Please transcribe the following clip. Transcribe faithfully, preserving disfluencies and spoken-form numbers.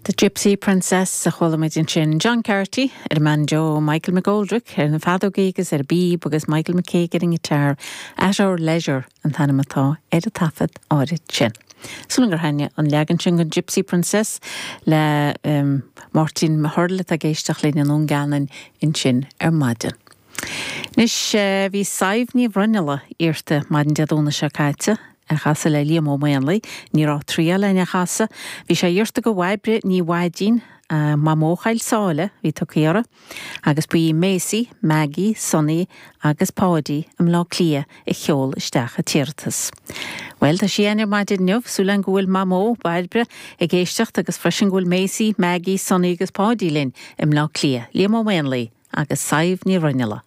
The Gypsy Princess a chuala muid ansin John Carty ar an mbanjo Michael McGoldrick ar na feadógaí agus ar an bpíb agus Michael McCaig ar an ngiotár At Our Leisure an t-ainm atá ar an taifead áirid sin. Sula gur thaitnigh an leagan sin den Gypsy Princess le um, Martin Mahurl atá ag éisteacht linn i nDún Geanainn ansin ar maidin. Anois uh, bhí Sadhbh Ní Bhruinnealla iarrta maidin Dé Domhnaigh seo caite a chasadh le Liam Ó Maonlaí, ní raibh triail lena chasadh, bhí sé iarrta do Bhairbre Ní Mhaidín uh, Mamó Choill Sáile bhí tugtha uirthi, agus ba í Maisie, Maggie, Sonny agus Páidí i mBleá Cliath a sheol isteach an t-iarratas. Well tá sí ar maidin inniu súil go bhfuil Mamó Bairbre ag éisteacht agus freisin go bhfuil Maisie, Maggie, Sonny agus Páidí linn i mBleá Cliath, Liam Ó Maonlaí agus Sadhbh Ní Bhruinnealla.